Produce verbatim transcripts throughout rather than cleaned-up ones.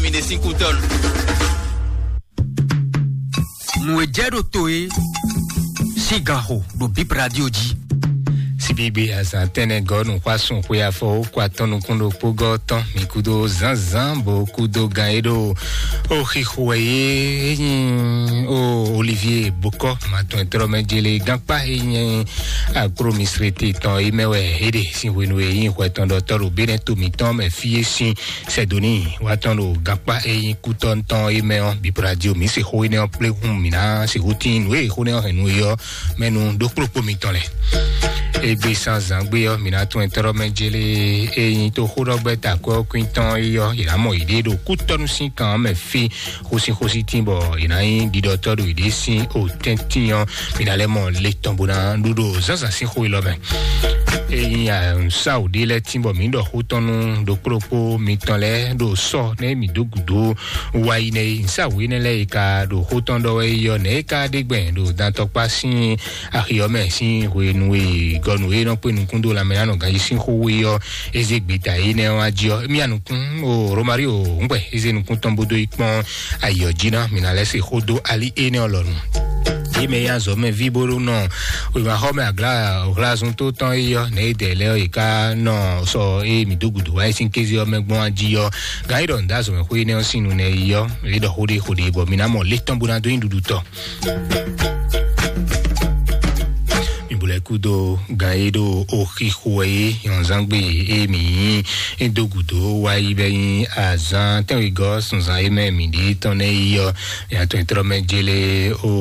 Mi ɖe sín kú tɔnu. Nǔ e jɛ ɖo to e sín gan xo ɖo Bib Radio jí. Síbígbe azǎn tɛnɛ gɔ́ nǔxwásún xwe afɔ ó kó atɔ́ nukún ɖokpó gɔ́ tɔn mi kúdó zǎnzǎn bó kúdó gan e ɖo ó xixo wɛ yé é nyí ó Olivier Bokɔ matɔn e tlɔ́ mɛ jele gánkpá e nyí akprómisrete tɔn é mɛ wɛ é ɖe sín hwenu e nyí hwɛ tɔn ɖɔ tɔ́ ɖo Benɛ́ to mǐtɔn mɛ fí é sín Sɛdoni wá tɔn ɖo gankpá e nyí kútɔ́ tɔn é mɛ ɔ́, Bib Radio mǐ se xó énɛ́ ɔ́ kplé hun mǐ ná sixú tín nǔ e xó énɛ́ ɔ́ hɛn nú é ɔ́ mɛ nú ɖó kplɔ́kpó mitɔn lɛ́ɛ. Égbé sán zǎngbé ɔ́, mǐ ná tún ɛtɔ́ɖɔ́ mɛ jélé e nyí tó xóɖɔgbɛ́ takwɛ́ ɔ́ kwín tɔn é ɔ́, yě ná mɔ yěɖée ɖo kútɔ́nú sín kan ɔ́ mɛ fí xósíxósí tín bɔ yě ná nyí ɖiɖɔtɔ́ ɖo yěɖée sín o tɛ́ntin ɔ́, mǐ ná lɛ́ mɔ le tɔn bó ná ɖu ɖo zǎnzǎn sín xó élɔ́ mɛ. Ényí nǔsáwǔ ɖé lɛ́ɛ tín bɔ mǐ ɖɔ xó tɔn nú ɖokpó ɖokpó mitɔn lɛ́ɛ ɖo sɔ́ nɛ́ mǐ dó gǔdo wá yi nɛ́ é, nǔsáwǔ énɛ́ lɛ́ɛ e ka ɖo xó tɔn ɖɔ wɛ é ɔ́, nɛ̌ é ka ɖe gbɛn ɖo dantɔkpá sín axi ɔ́ mɛ sín hwenu e gɔnu e nɔ kpé nukún dó lanmɛ ná nɔ ganjí sín xó wú é ɔ́, é zé gbeta énɛ́ ɔ́ wá jí ɔ́, émí anukún o Romario ŋgbɛ é zé nukún tɔn bó dó yi kpɔ́n ayǐ ɔ́ jí ná, mǐ ná lɛ́ se xó dó ali énɛ́ ɔ́ lɔnu. Yě mɛ e azɔ̌ mɛ ví bó ɖó nɔ wěmaxɔmɛ agla hlazun tó tɔn é ɔ́, nɛ̌ é dɛ lɛ́ɛ ɔ́, yě ká nɔ sɔ ée mǐ dó gǔdo wá é sín kéze ɔ́ mɛ gbɔn jí ɔ́, gǎn é ɖɔ nǔ dó azɔ̌ mɛ xó énɛ́ ɔ́ sín nu nɛ́ é ɔ́, é ɖɔ xó ɖé xó ɖé bɔ mǐ ná mɔ lě tɔn bó ná dó nyí ɖuɖu tɔn. Mi bu lɛ kúdo gan e ɖo oxi xo wɛ é nyɔ̌nzán gbe e mǐ nyí é dó gǔdo wá yi bɛ nyí azán tɛ́nwegɔ́ sunzan e mɛ mǐ ɖe tɔn nɛ́ yi ɔ́, mǐ atɔn trɔ mɛ jélé o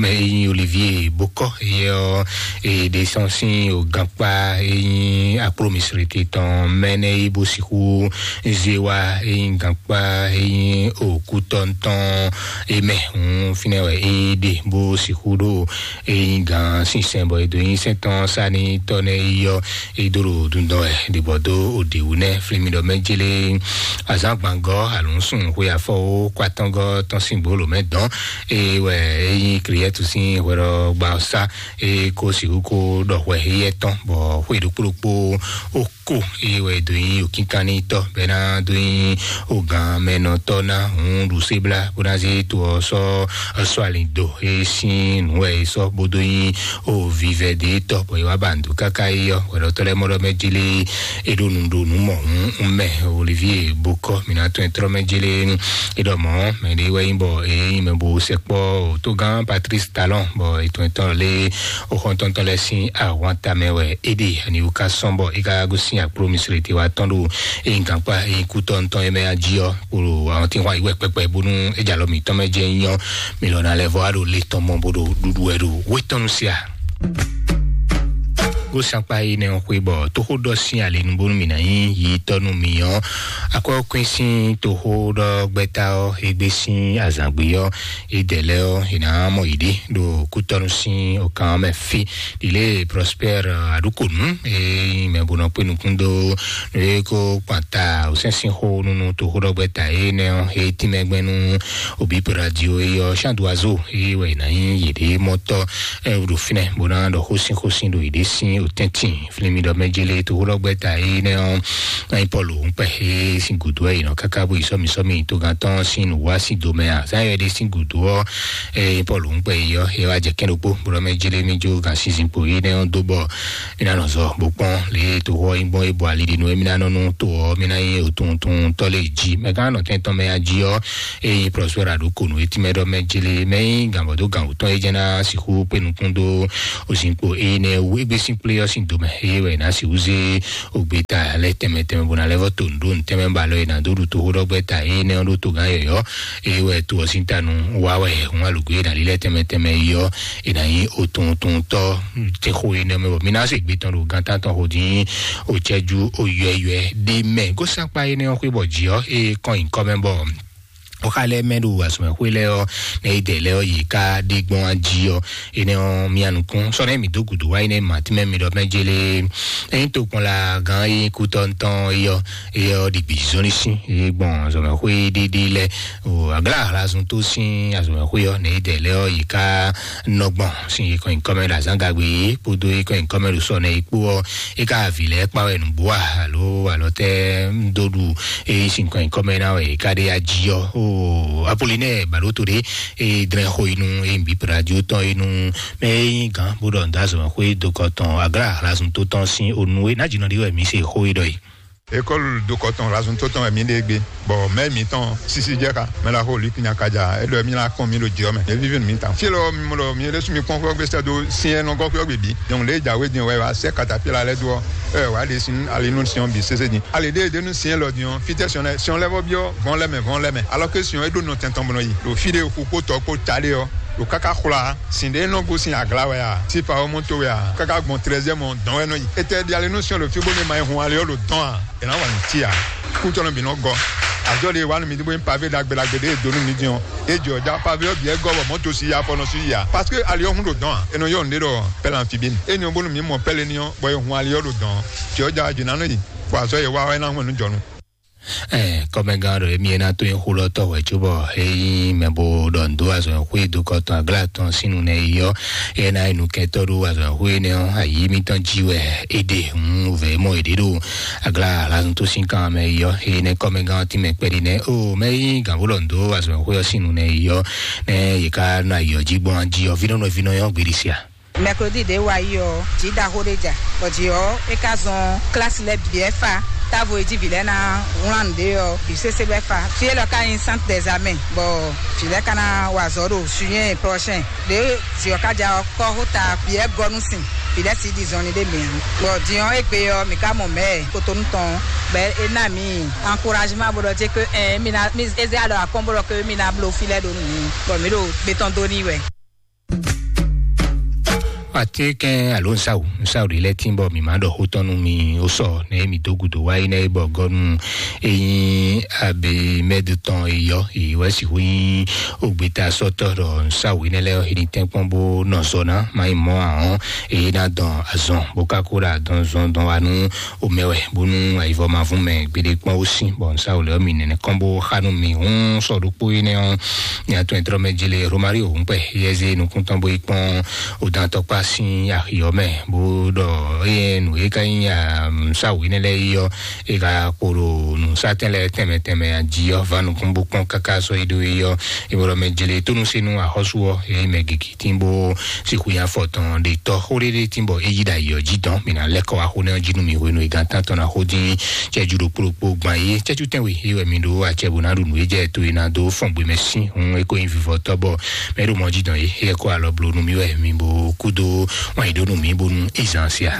mɛ e nyí Olivier Bokɔ yɛ ɔ́, e ɖe sɔn sín o gankpá e nyí akplo misrete tɔn mɛ nɛ́ yi bó sixú zé wá e nyí gankpá e nyí o kútɔ́ tɔn e mɛ hǔn fínɛ́ wɛ é ɖe bó sixú ɖo e nyí gǎn sinsɛn bɔ è dǒ nyi sɛ́n tɔn sá n'i tɔ́ nɛ́ yi ɔ́, é dó ɖo dundɔn wɛ ɖibɔ dó òdǐwú nɛ́ flimidɔ mɛ jélé azǎngbangɔ́ alǔnsun xwe afɔwó kwatɔ́ngɔ́ tɔn sín gbolo mɛ dɔn. É wɛ é nyí Kriɛtu sín hwɛɖɔgba ɔ́ sá é kó sixú kó ɖɔ hwɛ éyɛ́ tɔn bɔ xwe ɖokpó ɖokpó ó ko é wɛ dó nyí òkínkannítɔ́ bɛ́ ná dó nyí ògǎn mɛnɔtɔ́ ná hǔn ɖu sébla bó ná zé to ɔ́ sɔ́ sɔ́ alin do é sín nǔ wɛ é sɔ́ bó dó nyí o vivɛ dě tɔ́ bɔ é wá ba nǔ dó káká é ɔ́ hwɛɖɔtɔ́ lɛ́ɛ mɔ ɖɔ mɛ jélé é ɖo nǔ ɖo nǔ mɔ hǔn un mɛ Olivier Bokɔ mǐ ná tɔn ɛ trɔ́ mɛ jélé é ɖɔ mɔ̌ mɛ ɖé wɛ nyí bɔ é nyí mɛ bo sɛkpɔ́ tógán Patrice Talon bɔ ètò ɛtɔn lé o xɔntɔntɔ lɛ́ɛ sín ahwan tamɛ wɛ é ɖe aniwu ká sɔn bɔ é ká gosín akplo misrete wá tɔn ɖo é nyí gankpá é nyí kútɔ́ ntɔn é mɛ ají ɔ́ kpolo àwọn tí wọ́n ayíwẹ̀ pẹpẹ bónú é jalɔ mǐtɔn mɛ jẹ́ nyí ɔ́ mi lɔ ná lɛ́ vɔ wá ɖo lé tɔn mɔ bó ɖo ɖuɖu wɛ ɖo wétɔnu sia. Gósankpa yi nɛ xwe bɔ tóxó ɖɔ sín alinu bónú mi ná nyí yi tɔnu mi ɔ́ akwɛ́ kwín sín tóxó ɖɔ gbɛta ɔ́ égbé sín azǎngbe ɔ́ é dɛ lɛ́ ɔ́ è nǎ mɔ yě ɖe ɖo kútɔ́nu sín òkan ɔ́ mɛ fí. Ɖilé Prospère Aɖukonu e nyí mɛ bó nɔ kpé nukún dó nú é kó kpan ta wǔsɛ́nsɛ́n xó nú nú toxóɖɔgbɛ́ ta énɛ́ ɔ́, é tínmɛ gbɛn nú Obip Radio é ɔ́, Chando Azo é wɛ è nǎ nyí yěɖée mɔtɔ́ ɖo fínɛ́ bó ná ɖɔ xósín xósín ɖo yěɖée sín òtɛ́ntin. Flinmi ɖɔ mɛ jélé toxóɖɔgbɛ́ ta énɛ́ ɔ́, ná nyí Pɔ́lu ŋkpɛ é sín gǔdo wɛ è nɔ káká bó yi sɔ́mi sɔ́mi togán tɔn sín nǔwá sín domɛ a? Zán yɔ ɖé sín gǔdo ɔ́, é Pɔ́lu ŋkpɛ yi ɔ́, é wá jɛ kɛ́n ɖokpó bó ɖɔ mɛ jélé mí jó gǎn sinsin kpo énɛ́ ɔ́ dó bɔ mí ná nɔ zɔ bó kpɔ́n lě e toxo ɔ́ nyí gbɔn é bɔ ali ɖi nú émí ná nɔ nú to ɔ́ mí ná nyí òtuntun tɔ́ lé jí. Mɛ gán nɔ tɛn tɔn mɛ ají ɔ́, é nyí Prospère Aɖukonu é tínmɛ ɖɔ mɛ jélé mɛ nyí gǎnbɔdó gǎn wǔtɔn é jẹ́ ná sixú kpé nukún dó òzinkpo énɛ́ wú égbé sín kplé ɔ́ sín domɛ é wɛ ná sixú zé ògbéta lɛ́ tɛnmɛ tɛnmɛ bó ná lɛ́ vɔ to nǔɖó nǔtɛnmɛ ba lɔ é ná dó ɖu toxóɖɔgbɛ́ ta énɛ́ ɔ́ ɖó togán yɔ̌yɔ́ é wɛ to ɔ́ sín ta nu wá wɛ hun alǔgbé ná lílɛ́ tɛnmɛ tɛnmɛ yi ɔ́, è nǎ nyí otuntun tɔ́ tɛ́nxó énɛ́ mɛ bɔ mí ná se gbé tɔn ɖo gán tántɔn xo dín o cɛ́jú o yɔ̌yɔ́ ɖé mɛ. Gósakpa énɛ́ ɔ́ xwé bɔ jǐ ɔ́ é kɔn nyǐkɔ mɛ bɔ Oxa lɛ mɛ ɖo azɔmɛxwé lɛ ɔ, ne yi dɛ lɛ ɔ yi ka ɖe gbɔn aji ɔ, ene ɔ mia nukun sɔ ne mi do gudu wa yi ne ma ti mɛ mi ɖɔ mɛ jele. Eyin to kpɔn la gan yi kutɔ ntɔn yɔ, yɔ ɖi gbi zɔnni si yi gbɔn azɔmɛxwé ɖiɖi lɛ. O agla hlasun to sin azɔmɛxwé ɔ, ne yi dɛ lɛ ɔ yi ka nɔ gbɔn sin yi kɔn yi kɔmɛ ɖo azan gagbe yi kpodo yi kɔn yi kɔmɛ ɖo sɔ ne yi kpo ɔ, e ka vi lɛ kpa wɛ nugbo a alo alɔ tɛ ŋdo ɖu e sin kɔn yi kɔmɛ na wɛ e ka ɖe ya ji ɔ. O apolinɛ balo to ɖe e drɛn xo inu e bi radio tɔn inu mɛ e yin gan bo ɖɔ nda zɔn xo e do kɔ tɔn agra hlasun to tɔn sin onu e na jinɔ ɖi wɛ mi se xo e ɖɔ yi. Ekɔlu dokɔtɔn razun tó tɔn wɛ mi ɖe gbé, bɔ mɛ mitɔn sisi jɛ xa mɛ la xo lipinya kaja e ɖɔ mi la kɔn mi ɖo jɔ mɛ e vivi mi tan fi lɔ mi mɔ ɖɔ mi ɖe sumi kpɔn xɔ gbèsè do siɛ nɔ gɔ xɔ gbèbí. Donc le jawe din wɛ wa sɛ katapila lɛ do ɔ ɛ wa ɖe sin ali nu siɔn bi sese din ali ɖe ɖe nu siɛ lɔ din ɔ fitɛ siɔn lɛ siɔn lɛ bɔ biɔ vɔn lɛ mɛ vɔn lɛ mɛ alors que siɔn e ɖo nɔ tɛntɔn bɔnɔ yi ɖo fi ɖe xu kpó tɔ kpó ta ɖe ɔ ɖo kaka xwla sin ɖe nɔ gosin agla wɛ a sifa ɔmɔ to wɛ a kaka gbɔn trɛzɛ mɔ dɔn wɛ nɔ yi etɛ ɖi ali nu siɔn ɖo fi bó ne ma yi hun ali ɔ ɖo dɔn a. Ena wa nti a kutɔnɔ bi nɔ gɔ azɔ de wa nu mi bo pavé dagbe dagbe de donu mi diɔn e jɔ da pavé ɔ biɛ gɔ bɔ mɔto si ya fɔnɔ si ya parce que ali ɔ hun do dɔn a enɔ yɔ nde dɔ pɛlɛ amphibine eni ɔ bonu mi mɔ pɛlɛ ni ɔ bɔ e hun ali ɔ do dɔn tiɔ ja jina nɔ yi bɔ azɔ ye wa ɔ ena hun nu jɔnu. Ɛ kɔmɛgán ɖɔ emi ena to yin xulɔtɔ wɛ tso bɔ eyi mɛ bo ɖɔ ndo azɔ xwe do kɔtɔn agla tɔn sinu nɛ yi yɔ ena enu kɛtɔ ɖo azɔ xwe nɛ ɔ ayi mitɔn ji wɛ ede hun vɛ mɔ ede ɖo agla alazun to sin kan mɛ yi yɔ eye nɛ kɔmɛgán ti mɛ kpɛɖi nɛ o mɛ yi gan bo ɖɔ ndo azɔ xwe ɔ sinu nɛ yi yɔ nɛ yi ka na yi yɔ ji gbɔn ji yɔ vinɔ nɔ vinɔ yɔ gbedi sia. Mɛklodi ɖě wa yi ɔ́, jǐ ɖaxó ɖé ja, bɔ jǐ ɔ́, é ka zɔn klasi lɛ́ɛ bǐ wɛ fa. Távo e jí vǐ lɛ́ɛ ná wlán nǔɖé ɔ́, bǐ sésé wɛ fa. Fí élɔ́ ka nyí Centre des Armées, bɔ vǐ lɛ́ɛ ka ná wa azɔ̌ ɖo juillet prochain. Ɖě jǐ ɔ́ ka ja ɔ́, kɔ́xota bǐ wɛ gɔ́ nú sin, vǐ lɛ́ɛ sixú ɖi zɔnlin ɖé mɛ ǎ. Bɔ din ɔ́, égbé ɔ́, mǐ ka mɔ mɛ̌ Kotonu tɔn, bɔ é ná mǐ encouragement bó ɖɔ jé que ɛ mí ná mí é zé alɔ akɔ́n bó ɖɔ que mí ná bló fí lɛ́ɛ ɖó nǔ, bɔ mǐ ɖo gbé tɔn dó n'i wɛ. Atekɛn alo nsawu nsawu ɖe lɛ tin bɔ mi ma ɖɔ xó tɔn nú mi o sɔ ne mi do gudo wa yi ne bɔ gɔnu eyin abe mɛdu tɔn eyɔ eyi wɛ si hu yin ogbeta sɔtɔ ɖɔ nsawu yi ne lɛ yi ni tɛnkpɔn bo nɔ zɔ na ma yi mɔ ahɔn eyi na dɔn azɔn bo ka ko ɖa dɔn zɔn dɔn wa nu omɛ wɛ bónú ayivɔ ma vún mɛ gbede kpɔn ó sín bɔ nsáwò lɛ ɔ́ mi nɛnɛ kɔn bó xá nú mi hún sɔ ɖokpó énɛ́ ɔ́. Nya tɔn ɛtrɔ mɛ jele Romario ŋkpɛ yɛze nukúntɔn bó yi kpɔn odantɔkpa sín axi ɔ́ mɛ bó ɖɔ eye nǔ e ka nyí nsáwò énɛ́ lɛ́ɛ yi ɔ́ e ka kpo ɖo nǔsátɛn lɛ́ɛ tɛnmɛ tɛnmɛ ají ɔ́ va nukún bó kpɔn káká sɔ yi ɖó yi ɔ́. Ìbɔlɔ mɛ jele tónú sínú axɔ́sú ɔ́ eye mɛ gigi tín bó sixú nyi afɔ tɔn ɖe tɔ xó ɖéɖé tín bɔ é yí ɖo ayǐ ɔ́ jí dɔn. Mi ná lɛ́ kɔ wá xó nɛ́ ɔ́ jí nú mi hwenu e gán tán tɔn ná xó dín cɛ́jú ɖokpó ɖokpó gban é cɛ́jú tɛ́nwe é wɛ mi ɖó acɛ bó ná ɖu nǔ é jɛ to e ná dó fɔn gbe mɛ sín hun é kó nyí vivɔtɔ́ bɔ mɛ ɖo mɔ jí dɔn é é kó alɔ blo nú mi wɛ mi bó kú dó wán yí ɖó nú mi bónú é zán sia.